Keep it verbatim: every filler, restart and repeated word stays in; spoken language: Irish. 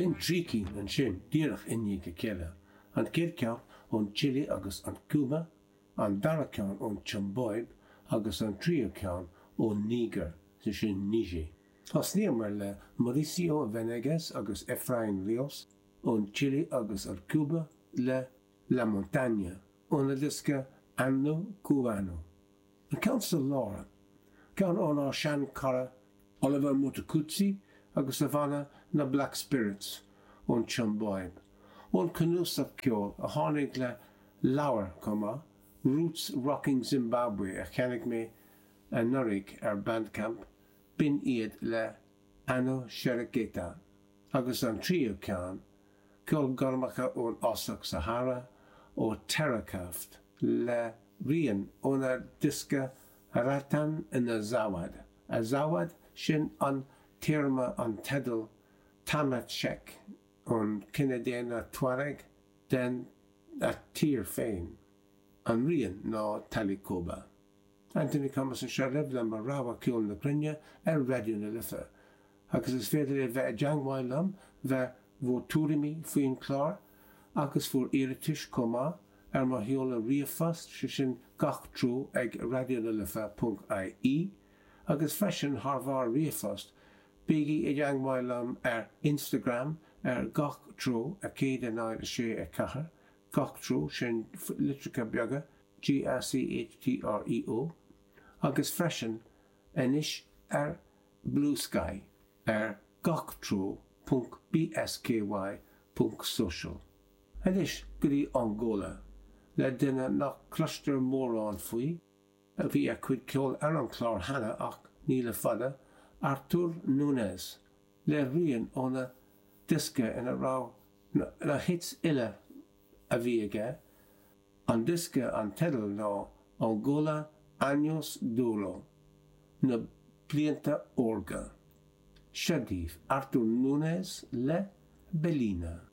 B'in trí cinn ansin díreach i ndiaidh a chéile, an chéad cheann ón Chile agus an Cúba, an dara ceann ón tSiombáib agus an tríú ceann ón Nígir, sé sin Niger. Thosnaíomar le Mauricio Venegas agus Efraín Ríos ón Chile agus an Cúba le La Montaña óna diosca Ando Cubano. An ceann sa lár, ceann ónár seanchara Oliver Mtukudzi agus a bhanna na Black Spirits ón tSiombáib. Ón cnuasach ceoil a tháinig le leabhar chomh maith, Roots Rocking Zimbabwe a cheannaigh mé anuraidh ar Bandcamp, b'in iad le Anoshereketa. Agus an tríú ceann, ceolchoirmeacha ón fhásach Sahara ó Terakaft le rian óna diosca Ratan in Azawad. Azawad sin an téarma an teideal Tamashek ón cine daonna Tuareg den a tír féin. An rian ná Talikoba. Anthony Thomas anseo libh le mo rogha ceol na cruinne ar Raidió na Life. Agus is féidir libh bheith i dteagmháil liom le bhur dtuairimí faoin chlár agus bhur n-iarratais chomh maith ar mo sheoladh ríomhphost sé sin gach treo ag radionalife.ie agus freisin thar bharr ríomhphost bígí i dteagmháil liom ar Instagram ar gach treo a céad a náid a sé a ceathair gach treo sin litreacha beaga G A C H T R E O agus freisin anois ar Blue Sky ar gach treo ponc BSKY ponc social. Anois go dtí Angola le duine nach gcloistear mórán faoi, a bhí a chuid ceoil ar an chlár cheana ach ní le fada, Arthur Nunes, le rian óna diosca ina raibh na hits uile a bhí aige, an diosca an teideal ná Angola Años de Oro, na blianta órga. Seo daoibh Arthur Nunes le Belina.